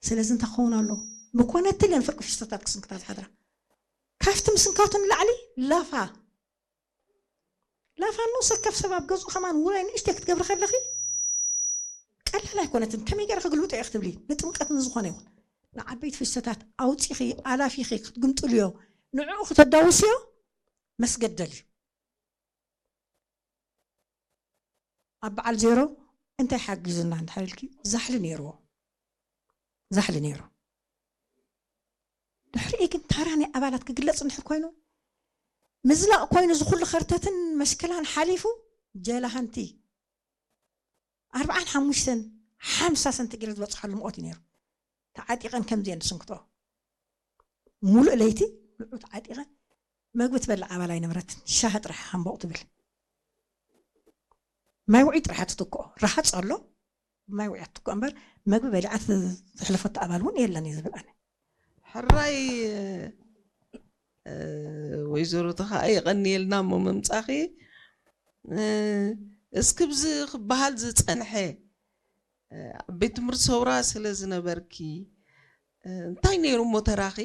ስለዚ እንታይ ክኸውን ኣሎ? ምኮነትል እየን ፍርቂ ፊስቶታት ክስንክታ ዝሓድራ። ካብቲ ምስንካቱ ንላዕሊ ላፋ ላፋ ንሰከፍ ሰብ ኣብ ገዝኡ ከማን ውራይ ንእሽተይ ክትገብሪ ከለኺ ቀላል ኣይኮነትን። ከመይ ገይረ ክግልብጦ እየ ክትብሊ ንጥምቀት ንዝኾነ ይኹን ንዓበይቲ ፊስቶታት ኣውፂኺ ኣላፊኺ ክትግምጥልዮ ንዕኡ ክተዳውስዮ መስገደል እዩ። ኣብ በዓል ዜሮ እንታይ ሓጊዙና እንድሕር ኢልኪ ዛሕሊ ነይርዎ፣ ዛሕሊ ነይሩ። ድሕሪኡ ግን ታራ ናይ ኣባላት ክግለፅ እንድሕር ኮይኑ ምዝላቕ ኮይኑ ዝኩሉ ከርተትን መሽክላን ሓሊፉ ጀላሃንቲ ኣርብዓን ሓሙሽተን ሓምሳ ሰንቲግሬድ ዝበፅሓሉ ሙቐት እዩ ነይሩ። ተዓጢቐን ከምዚአን ዝስንክትኦ ሙሉእ ለይቲ ንዑ ተዓጢቐን መግቢ ትበልዕ ኣባል ኣይነበረትን። ሻሂ ጥራሕ ሃምቦቕ ትብል። ማይ ውዑይ ጥራሕ ትትክኦ። ረሃፅ ኣሎ ማይ ውዑይ ትትክኦ እምበር መግቢ በሊዓ ትሕለፈቶ ኣባል እውን የለን እዩ ዝብል ኣነ። ሕራይ ወይዘሮ ተኸኣ የቐንየልና እሞ ምምፃኺ። እስኪ ብዚ ክበሃል ዝፀንሐ ኣብ ቤት ትምህርቲ ሰውራ ስለ ዝነበርኪ እንታይ ነይሩ እሞ ተራኺ?